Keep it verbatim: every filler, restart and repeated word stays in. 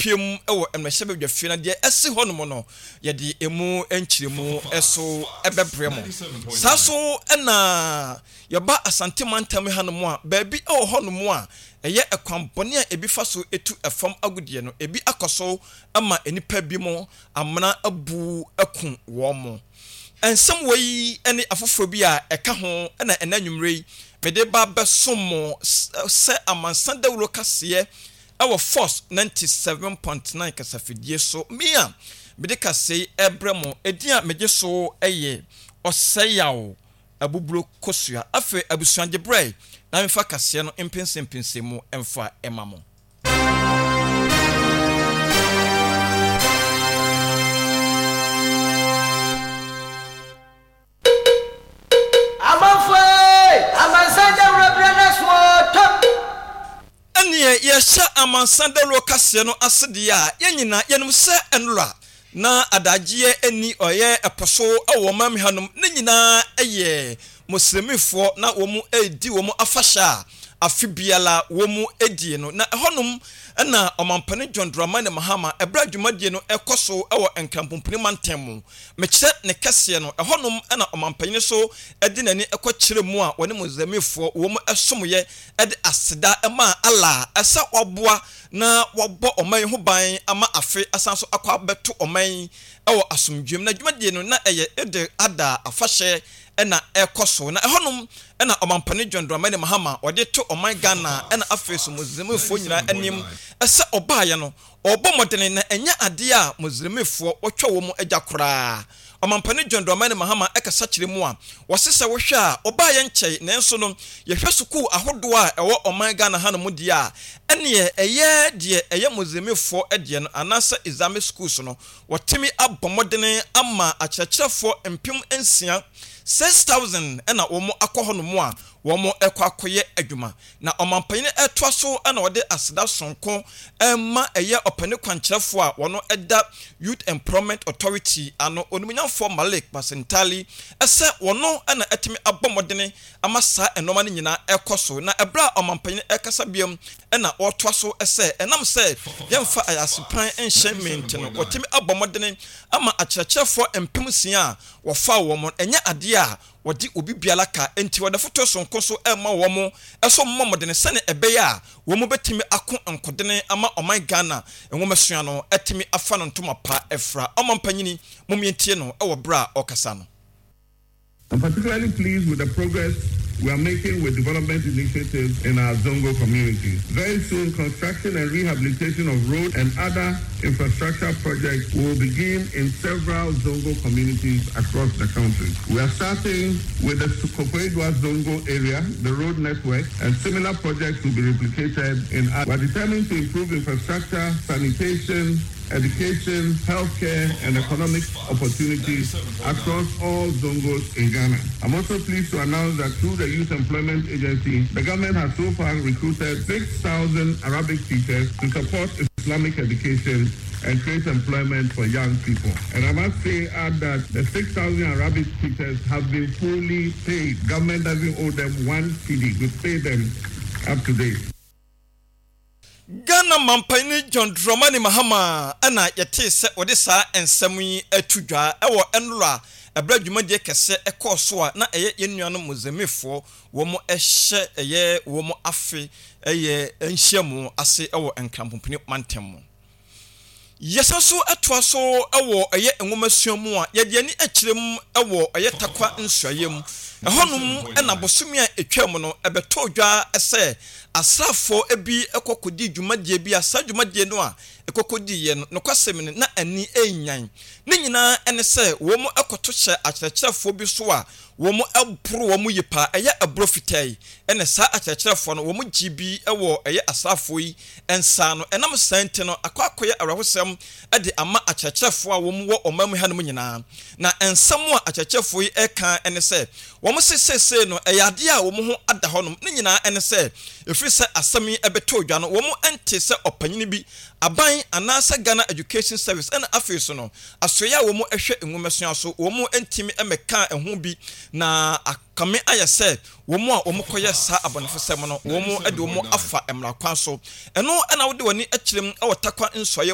Yɛbɛkɔpue mu wɔ mmarahyɛbadwafie na deɛ asi hɔnom no, yɛde ɛmu nkyerɛmu so bɛbrɛ mo. Saa so na yɛba Asante mantam hanom a, baabi wɔ hɔnom a ɛyɛ ɛkwan bɔne a ebi fa so tu fam agudeɛ no, ebi akɔ so ma nnipa binom amena abu aku wɔn. Nsɛm wei ne afoforɔ bi a ɛka ho na ɛnnɛ anwummerɛ yi mede ba bɛsom mo sɛ amansan dawuro kaseɛ wɔ Force ninety seven point nine kasafidie so. Me a mede kaseɛ yi rebrɛ mo, edin a megye so yɛ Ɔsɛeyaw Abuburo Kosua. Afei abusua gye berɛ na memfa kaseɛ no mpɛnsɛmpɛnsɛmu mfa ma mo. Amanfoɔ ei, amansan dawuro berɛ no aso oo, tom. Ɛneɛ yɛhyɛ amansan dawuro kaseɛ no ase deɛ a, yɛn nyinaa yɛnim sɛ nnora na adagyeɛ nni ɔyɛ ɛpo so wɔ ɔman mu hanom, ne nyinaa yɛ Muslimifoɔ na wɔn redi wɔn afahyɛ a afe biara wɔn die no. Na ɛhɔnom na Ɔmampanin John Dramani Mahama ɛberɛ a dwumadie no rekɔ so wɔ Nkran-Pumpuni mantam mu, mekyerɛ ne kɛseɛ no, ɛhɔnom na Ɔmampanin nso de n'ani kɔ kyerɛ mu a wɔne Muslimifoɔ wɔn somyɛ de aseda maa Allah sɛ waboa na wabɔ ɔman yi ho ban ama afe asan so akɔ abɛto ɔman yi wɔ asomdwoeɛ mu. Na dwumadie no na ɛyɛ Eid-el-Adha afahyɛ na ɛrekɔ so. Na ɛhɔnom na Ɔmampanin John Dramani Mahama ɔde to ɔman Ghana na afei nso Muslimifoɔ nyinaa anim sɛ ɔbaeɛ no ɔrebɔ mmɔdene na ɛnyɛ adeɛ a Muslimifoɔ wɔtwa wɔn agya koraa. Ɔmampanin John Dramani Mahama kasa kyerɛ mu a ɔse sɛ wohwɛ a ɔbaeɛ nkyɛe nanso no yɛhwɛ sukuu ahodoɔ a ɛwɔ ɔman Ghana hanom deɛ a ɛneɛ ɛyɛ deɛ ɛyɛ Muslimifoɔ deɛ no anaasɛ Islamic schools no Wɔatumi abɔ mmɔdene ama akyerɛkyerɛfoɔ mpem nsia, six thousand, na wɔn akɔ hɔnom a wɔrekɔ akɔyɛ adwuma. Na ɔmanpanin retoa so na ɔde aseda sononko rema ɛyɛ ɔpanin kwankyerɛfoɔ a wɔn da Youth Employment Authority ano, Onimuonyamfoɔ Malik Basintali, sɛ wɔn na atumi abɔ mmɔdene ama saa nnoɔma no nyinaa rekɔ so. Na ɛberɛ a ɔmanpanin rekasa bio na ɔretoa so sɛ, ɛnam sɛ yɛmfa ayasepan nhyɛ me nti no, wɔatumi abɔ mmɔdene ama akyerɛkyerɛfoɔ mpem nsia a wɔfaa wɔn no, ɛnyɛ adeɛ a wɔde obi biara ka, enti wɔde afotuo sononko nso rema wɔn sɛ wɔmmɔ mmɔdene sɛdeɛ ɛbɛyɛ a wɔbɛtumi ako nkodene ama ɔman Ghana nwomasua no atumi afa no ntoma pa afira. Ɔmampanyini, mom yɛntie no wɔ berɛ a ɔrekasa no. I'm particularly pleased with the progress we are making with development initiatives in our Zongo communities. Very soon, construction and rehabilitation of road and other infrastructure projects will begin in several Zongo communities across the country. We are starting with the Koforidua Zongo area, the road network, and similar projects will be replicated in other. We are determined to improve infrastructure, sanitation, education, healthcare, and economic opportunities across all Zongos in Ghana. I'm also pleased to announce that through the Youth Employment Agency, the government has so far recruited six thousand Arabic teachers to support Islamic education and create employment for young people. And I must say, add that the six thousand Arabic teachers have been fully paid. Government doesn't owe them one C D. We pay them up to date. Ghana Mampanyin John Dramani Mahama na yɛtee sɛ ɔde saa nsɛm yi ato dwa wɔ nnora bere a dwumadie kɛseɛ kɔɔ so a na ɛyɛ yɛn nuanom Mozambiquefoɔ wɔn hyɛ ɛyɛ wɔn afe ɛyɛ nhyiamu ase wɔ Nkranpompini mantam mu. Yɛsan nso toa so wɔ ɛyɛ nwomasua mu a, yɛde ani kyerɛ mu wɔ ɛyɛ Tarkwa nsuaeɛ mu. Ɛhɔnom na bosome a ɛtwaam no, ɛbɛtɔɔ dwa sɛ asraafoɔ bi kɔ kɔdii dwumadie bi a saa dwumadie no a ɛkɔ kɔdiiɛ no, nokwasɛm ni, na ani renyan. Ne nyinaa ne sɛ wɔkɔto hyɛɛ akyerɛkyerɛfoɔ bi so a wɔboro wɔn yie paa, ɛyɛ ɛborɔ fitaa yi, ɛna saa akyerɛkyerɛfoɔ no wɔn gyee bi wɔ ɛyɛ asraafoɔ yi nsa ano. Ɛnam saa nti no, akɔ akɔyɛ awerɛhosɛm de ama akyerɛkyerɛfoɔ a wɔn wɔ ɔman mu hanom nyinaa. Na nsɛm a akyerɛkyerɛfoɔ yi reka ne sɛ, wɔn se seesei no ɛyɛ adeɛ a wɔn ho ada hɔnom, ne nyinaa ne sɛ, ɛfiri sɛ asɛm yi bɛtɔɔ dwa no, wɔn ntee sɛ ɔpanyini bi, aban anaasɛ Ghana Education Service ɛna afei nso no, Asoɛe a wɔhwɛ nwomasua so, wɔntumi mmɛkaa ɛho bi, na akame ayɛ sɛ wɔn a wɔkɔyɛ saa abɔnefosɛm no, wɔde wɔn afa mmara kwan so. Ɛno na wode w'ani kyerɛ mu wɔ Tarkwa Nsɔeɛ